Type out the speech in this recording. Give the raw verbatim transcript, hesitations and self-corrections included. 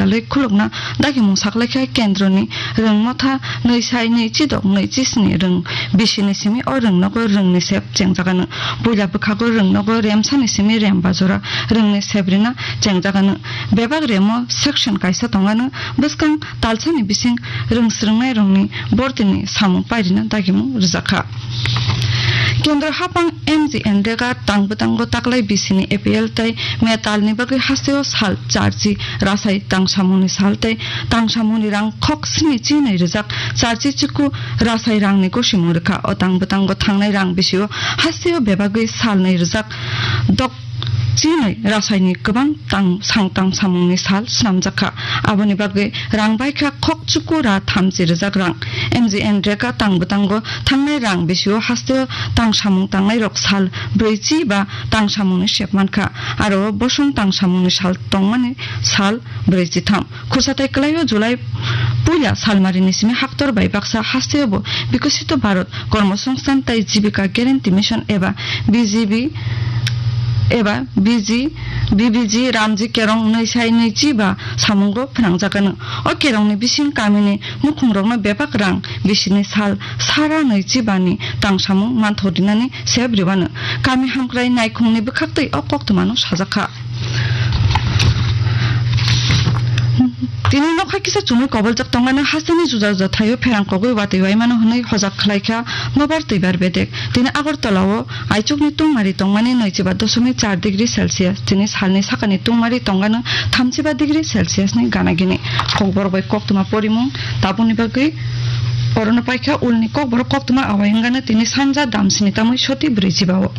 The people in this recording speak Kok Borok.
salwi khulukna dagimung saklaikha kendroni rwng motha nwi sai nwi chidok nwi chisni rwng bisini simi o rwng nogo rwngni sep chengjagano. Puila bwkhago rwng nogo remsani simi rem bajora rwngni sep rina chengjagano. Bebak remo section kaisa tongano bwskang talsani bising rwng swrwngnairokni bortini samung pairina dagimung rwjakha. Kendro hapang M G N Rega tang bwtango taklai bisini A P L tei metalni bagwi hasteo sal charchi rasai tangsamungni sal tei tangsamungni rang khok sni chinwi rwjak charchi chiku rasai rangni gosimung rwkha. O tang bwtango thangnai rang bisio hasteo bebagwi sal nwi rwjak dok chinwi rasaini kwbang tang sang tang samungni sal swnamjakha. Aboni bagwi rang baikha khok chuku ra thamchi rwjak rang. M G N Rega tang bwtango thangnai rang bisio hasteo tang samung tangnai rok sal brwi chi ba tang samungni sep mankha. Aro bosong tang samungni sal tongmani sal brwi chi tham. Khursa tai kwlaio July puila salmarini simi haktor bai baksa hasteo bo Bikosito Bharat Kormosongsthan tai Jibika Guarantee Mission eba B G B eba B G, B B G Ramji Kerong nwi sai nwi chi ba samungo phnangjakano. O kerongni bising kamini mukhungrokno bebak rang bisini sal sara nwi chi bani tang samung manthok rinani sep ribano. Kami hamkrai naikhungni bwkhaktwi o koktwmano sajakha. Tini nokha kisa chumui koboljak tongmani hasteni juda juda thaio pherang kogwi watwi waimano hwnwi hojak khlaikha nobar twibar bedek. Tini Agartala-o aichukni tungmari tongmani nwichiba dosomik char degree Celsius, tini salni sakani tungmari tongmani thamchiba degree Celsius ni gana gini. Kokborok bai koktwma porimung tabukni bagwi orono paikha ulni kokborok koktwma awai wngano tini sanja damsini tamwi soti brwichiba-o.